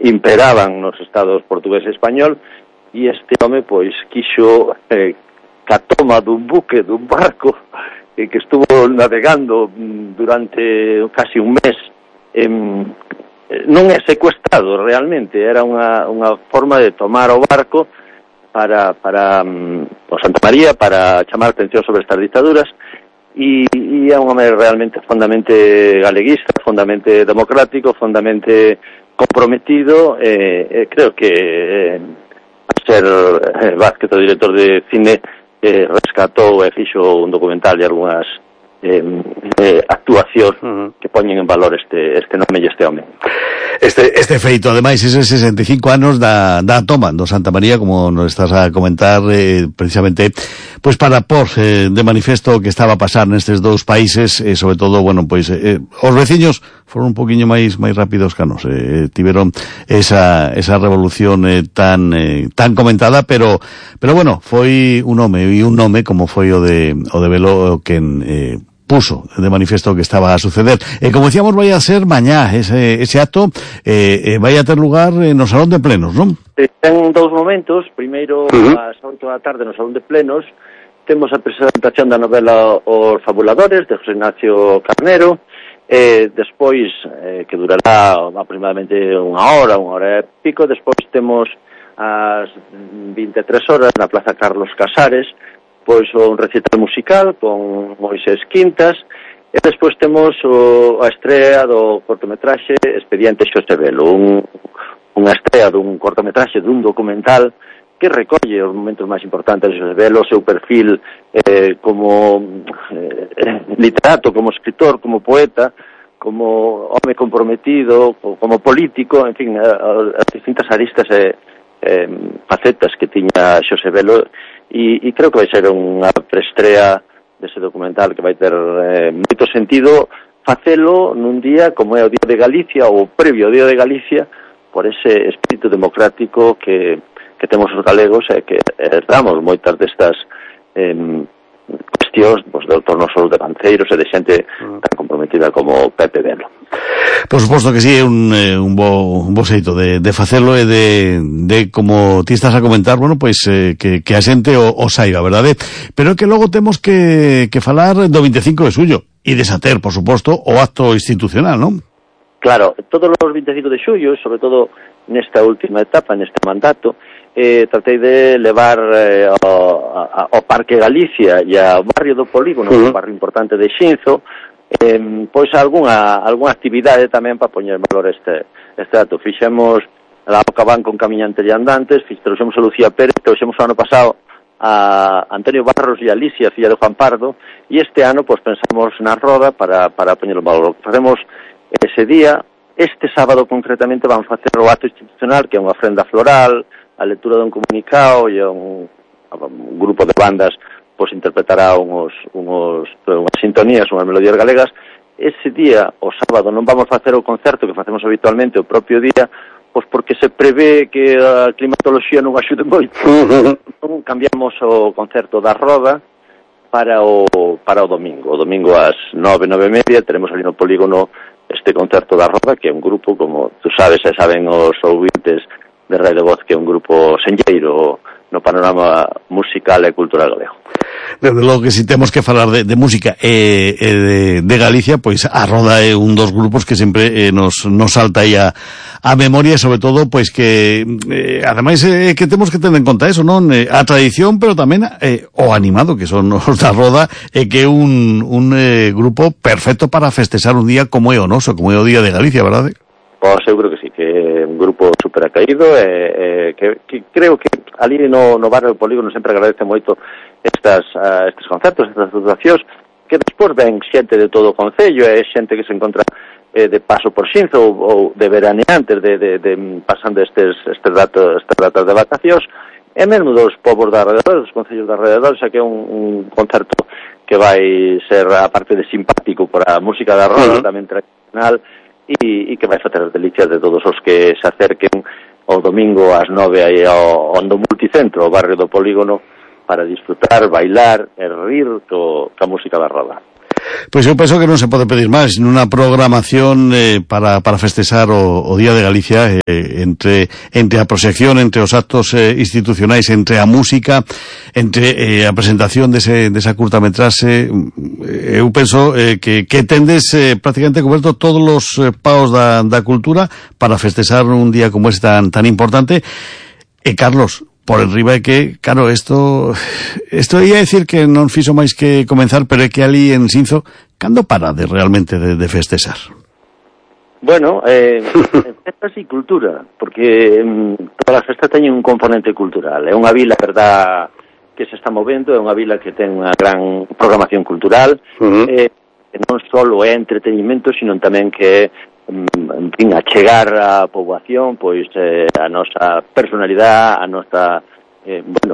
imperaban nos estados portugués e español, e este home pois quixo ca toma dun buque, dun barco que estuvo navegando durante casi un mes, non é secuestrado realmente, era unha forma de tomar o barco para o Santa María, para chamar a atención sobre estas dictaduras, e é un home realmente fondamente galeguista, fondamente democrático, fondamente comprometido, creo que a ser Vázquez, o director de cine, rescatou e fixo un documental e algunhas actuacións que poñen en valor este nome e este home. Este feito, ademais, ese 65 anos da toma do Santa María, como nos estás a comentar, precisamente, pois para pôr de manifesto o que estaba a pasar nestes dous países, e sobre todo, bueno, pois os veciños foron un poquinho máis rápidos que nos, tiveron esa revolución tan comentada, pero bueno, foi un nome como foi o de Velo quen puso de manifiesto que estaba a suceder. Como decíamos, vai a ser mañá ese acto, vai a ter lugar no Salón de Plenos, non? Ten dous momentos. Primeiro, ás 8 da tarde no Salón de Plenos, temos a presentación da novela Os Fabuladores, de José Ignacio Carnero, despois, que durará aproximadamente unha hora e pico. Despois temos ás 23 horas na Plaza Carlos Casares, pois un recital musical con Moisés Quintas, e despois temos a estrea do cortometraxe Expediente Xosé Velo, unha estrea dun cortometraxe, dun documental que recolle os momentos máis importantes de Xosé Velo, o seu perfil como literato, como escritor, como poeta, como home comprometido, como político, en fin, as distintas aristas e facetas que tiña Xosé Velo, e creo que vai ser unha preestrea dese documental que vai ter moito sentido facelo nun día como é o Día de Galicia, ou previo ao Día de Galicia, por ese espírito democrático que temos os galegos e que damos moitas destas cuestións do torno só de banceiros e de xente tan comprometida como Pepe Velo. Por suposto que sí, é un bo xeito de facelo e de como ti estás a comentar, bueno, pois que a xente o saiba, verdade? Pero que logo temos que falar do 25 de xullo e desater, por suposto, o acto institucional, non? Claro, todos os 25 de xullo, sobre todo nesta última etapa, neste mandato, tratei de levar ao Parque Galicia e ao barrio do Polígono, un barrio importante de Xinzo, pois algunha actividade tamén para poñer en valor este dato. Fixemos a Cabán con camiñantes e andantes, trouxemos a Lucía Pérez, trouxemos o ano pasado a Antonio Barros e a Alicia, filla de Juan Pardo, e este ano pois pensamos na roda para poñer en valor. Facemos ese día, este sábado concretamente vamos a facer o acto institucional, que é unha ofrenda floral, a lectura dun comunicado e un grupo de bandas pois interpretará unhas sintonías, unhas melodías galegas. Ese día, o sábado, non vamos facer o concerto que facemos habitualmente o propio día, pois porque se prevé que a climatoloxía non axude moito. Cambiamos o concerto da roda para o domingo. O domingo ás 9:30 teremos ali no Polígono este concerto da roda, que é un grupo, como tú sabes e saben os ouvintes de Radio Voz, que é un grupo senlleiro no panorama musical e cultural galego. Desde logo que si temos que falar de música e de Galicia, pois a Roda é un dos grupos que sempre nos salta aí a memoria, e sobre todo pois que ademais que temos que ter en conta eso, non? A tradición, pero tamén o animado que son os da Roda, e que é un grupo perfecto para festexar un día como é o noso, como é o Día de Galicia, verdade? Pois seguro que sí, que é un grupo super acaído e que creo que ali no barrio do Polígono sempre agradece moito estes concertos, estas actuacións, que despois ven xente de todo o concello, e xente que se encontra de paso por Xinzo ou de veraneantes, pasando estes datas de vacacións, e mesmo dos povos de alrededor, dos concellos de alrededor, xa que é un concerto que vai ser, a parte de simpático por a música da roda, tamén tradicional, e que vai facer as delicias de todos os que se acerquen o domingo ás 9 aí ao Multicentro, ao barrio do Polígono, para disfrutar, bailar e rir coa música da roda. Pois eu penso que non se pode pedir máis nunha programación para festexar o Día de Galicia, entre a proxección, entre os actos institucionais, entre a música, entre a presentación desa curtametraxe. Eu penso que tendes prácticamente coberto todos os paos da cultura para festexar un día como este tan importante. Carlos, por enriba é que, claro, isto ia decir que non fixo máis que comenzar, pero é que ali en Sinzo, cando parade realmente de festexar? Bueno, festas e cultura, porque todas as festas teñen un componente cultural. É unha vila, verdad, que se está movendo, é unha vila que ten unha gran programación cultural, non só é entretenimento, sino tamén que en fin, achegar a poboación pois a nosa personalidade, a nosa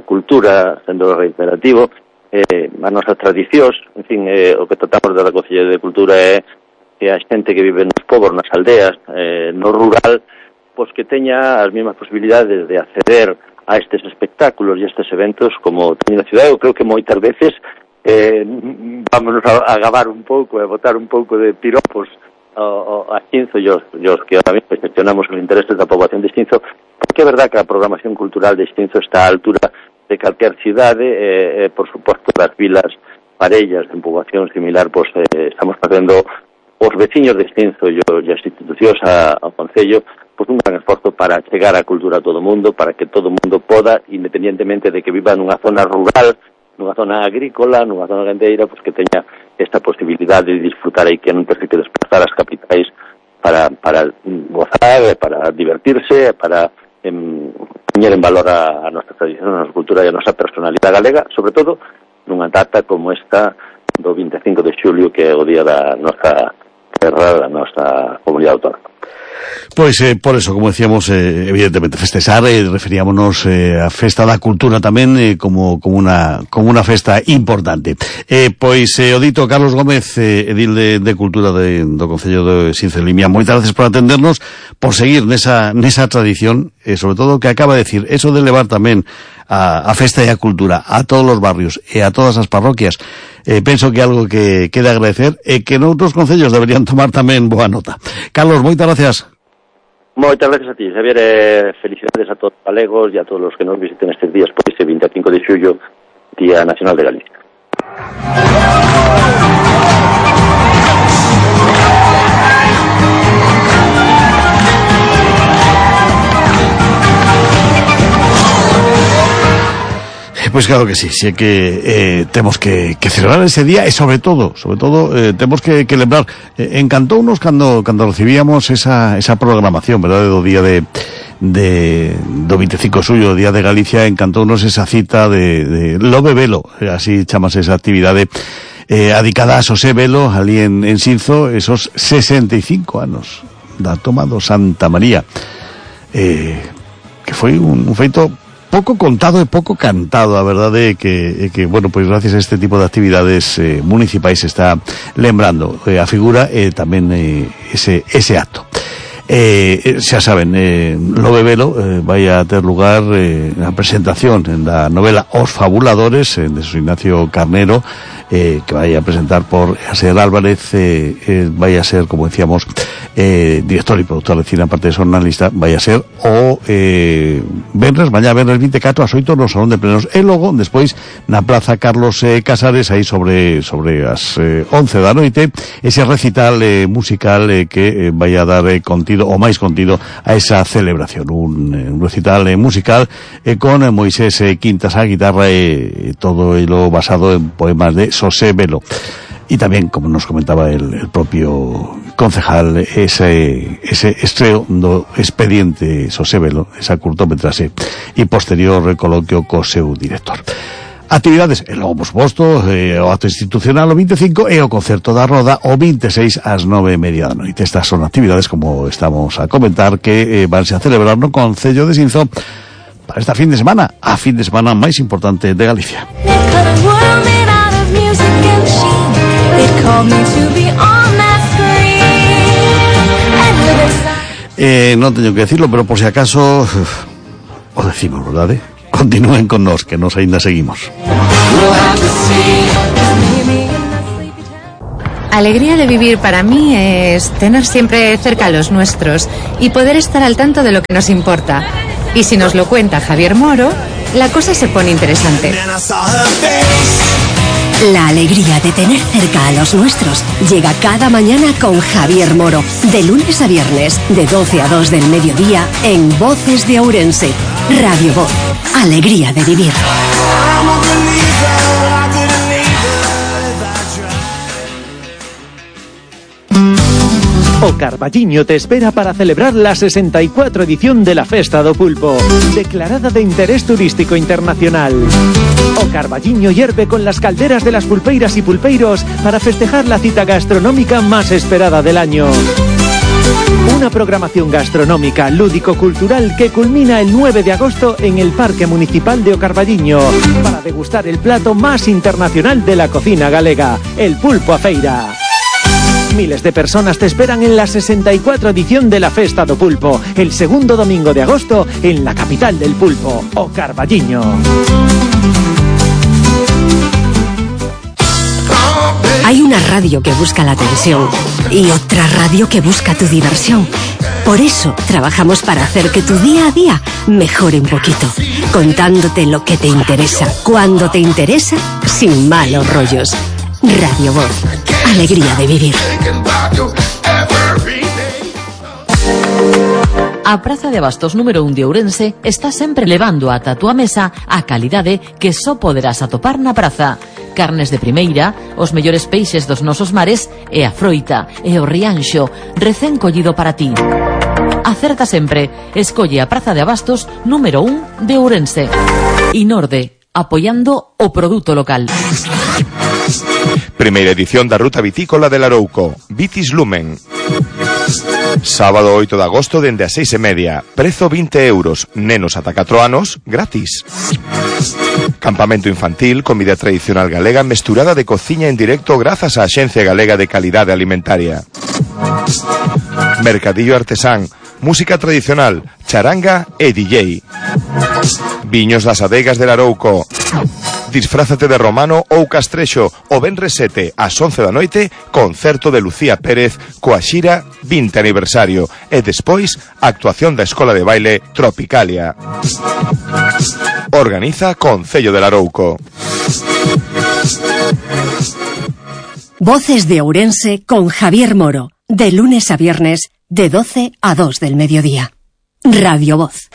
cultura, sendo reiterativo, a nosa tradicións, en fin, o que tratamos da Consellería de Cultura é que a xente que vive nos pobos, nas aldeas, no rural, pois que teña as mesmas posibilidades de acceder a estes espectáculos e a estes eventos como teñen na cidade. Eu creo que moitas veces vámonos a gabar un pouco e botar un pouco de piropos a Xinzo e os que ahora mismo gestionamos os intereses da poboación de Xinzo, porque é verdad que a programación cultural de Xinzo está á altura de calquer cidade, por suposto das vilas parellas de poboación similar, pois estamos facendo os veciños de Xinzo e as institucións ao Concello pois un gran esforzo para chegar a cultura a todo o mundo, para que todo o mundo poda, independientemente de que viva nunha zona rural, nunha zona agrícola, nunha zona gandeira, pois que teña esta posibilidade de disfrutar aí, que non ten que desplazar as capitais para gozar, para divertirse, para poñer en valor a nosa tradición, a nosa cultura e a nosa personalidade galega, sobre todo nunha data como esta do 25 de xulio, que é o día da nosa terra, da nosa comunidade autónoma. Pois, por eso, como decíamos, evidentemente, festexar, referíamonos a Festa da Cultura tamén como unha festa importante. Pois, o dito Carlos Gómez, edil de Cultura do Concello de Sinzo de Limia, moitas gracias por atendernos, por seguir nesa tradición, sobre todo o que acaba de decir, eso de levar tamén a festa e a cultura a todos os barrios e a todas as parroquias. Penso que é algo que queda agradecer e que noutros concellos deberían tomar tamén boa nota. Carlos, moitas gracias. Moitas gracias a ti, Xavier, felicidades a todos os galegos e a todos os que nos visiten estes días por ese 25 de xullo, Día Nacional de Galicia. Pois claro que sí, é que temos que celebrar ese día e sobre todo temos que lembrar, encantounos cando recibíamos esa programación, verdade, do día do 25 de xullo, o Día de Galicia, encantounos esa cita de Lobe Velo, así chamase esa actividade adicada a Xosé Velo, ali en Sinzo, esos 65 anos da toma do Santa María, que foi un feito pouco contado e pouco cantado. A verdade é que bueno, pois gracias a este tipo de actividades municipais se está lembrando a figura e tamén ese acto. Xa saben, Lobe Velo vai a ter lugar a presentación da novela Os Fabuladores de Xosé Ignacio Carnero, que vai a presentar por Aser Álvarez, vai a ser, como decíamos, director e productor de cine, aparte de xornalista, vai a ser o mañá venres 24 ás 8 no Salón de Plenos, e logo, despois, na Plaza Carlos Casares, aí sobre as 11 da noite, ese recital musical que vai a dar contido, o máis contido, a esa celebración, un recital musical con Moisés Quintas á guitarra e todo lo basado en poemas de Xosé Velo. Y también, como nos comentaba el propio concejal, ese estreo do expediente Xosé Velo, esa curtometraxe, e posterior coloquio co seu director. Actividades, e logo, por suposto, o acto institucional o 25 e o concerto da Roda o 26 ás 9:30 da noite. Estas son actividades, como estamos a comentar, que vanse a celebrar no Concello de Sinzo para esta fin de semana, a fin de semana máis importante de Galicia. Non teño que decirlo, pero por si acaso o decimos, verdade? Continúen con nós, que nos aínda seguimos. Alegría de vivir para mí es tener siempre cerca a los nuestros y poder estar al tanto de lo que nos importa. Y si nos lo cuenta Javier Moro, la cosa se pone interesante. La alegría de tener cerca a los nuestros llega cada mañana con Javier Moro, de lunes a viernes, de 12 a 2 del mediodía, en Voces de Ourense. Radio Voz, alegría de vivir. O Carballiño te espera para celebrar la 64 edición de la Festa do Pulpo, declarada de interés turístico internacional. O Carballiño hierve con las calderas de las pulpeiras y pulpeiros para festejar la cita gastronómica más esperada del año. Una programación gastronómica, lúdico-cultural que culmina el 9 de agosto en el Parque Municipal de O Carballiño para degustar el plato más internacional de la cocina galega, el pulpo a feira. Miles de personas te esperan en la 64 edición de la Festa do Pulpo, el segundo domingo de agosto en la capital del pulpo, O Carballiño. Hay una radio que busca la atención y otra radio que busca tu diversión. Por eso trabajamos para hacer que tu día a día mejore un poquito, contándote lo que te interesa, cuando te interesa, sin malos rollos. Radio Voz, alegría de vivir. A Praza de Abastos número 1 de Ourense está sempre levando ata a túa mesa a calidade que só poderás atopar na praza. Carnes de primeira, os mellores peixes dos nosos mares e a froita e o rianxo recén collido para ti. Acerta sempre, escolle a Praza de Abastos número 1 de Ourense. Inorde, apoiando o produto local. Primeira edición da Ruta Vitícola del Arouco, Vitis Lumen. Sábado 8 de agosto dende as 6:30, prezo 20 euros, nenos ata 4 anos, gratis. Campamento infantil, comida tradicional galega mesturada de cociña en directo grazas á Axencia Galega de Calidade Alimentaria. Mercadillo artesán, música tradicional, charanga e DJ. Viños das adegas del Arouco. Disfrázate de romano ou castrexo o venres 7 ás 11 da noite, concerto de Lucía Pérez coa xira 20 aniversario e despois actuación da Escola de Baile Tropicalia. Organiza Concello del Arouco. Voces de Ourense con Javier Moro, de lunes a viernes, de 12 a 2 del mediodía. Radio Voz.